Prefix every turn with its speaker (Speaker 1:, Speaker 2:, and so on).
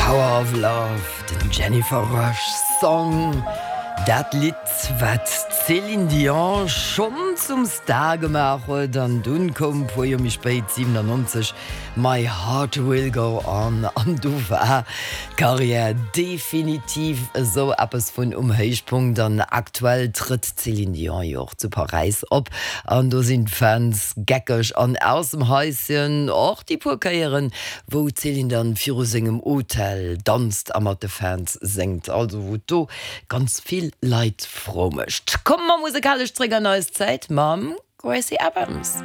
Speaker 1: Power of Love, den Jennifer Rush Song. Dat Lidd, wat d'Céline Dion schonn zum Star gemaach huet. An dunn koum e puer Joer méi spéit, 97, My Heart Will Go On. An du war d'Karriär definitiv esou eppes vun um Héichpunkt. An aktuell trëtt d'Céline Dion jo och zu Paräis op. An do sinn d'Fans geckeg an aus dem Haischen. Och déi puer Kéieren, wou d'Céline dann viru sengem Hotel danzt a mat de Fans séngt, also wou do ganz vill Leit frou mécht. Komme mer musekalesch zréck an eis Zäit mam Gracie Abrams.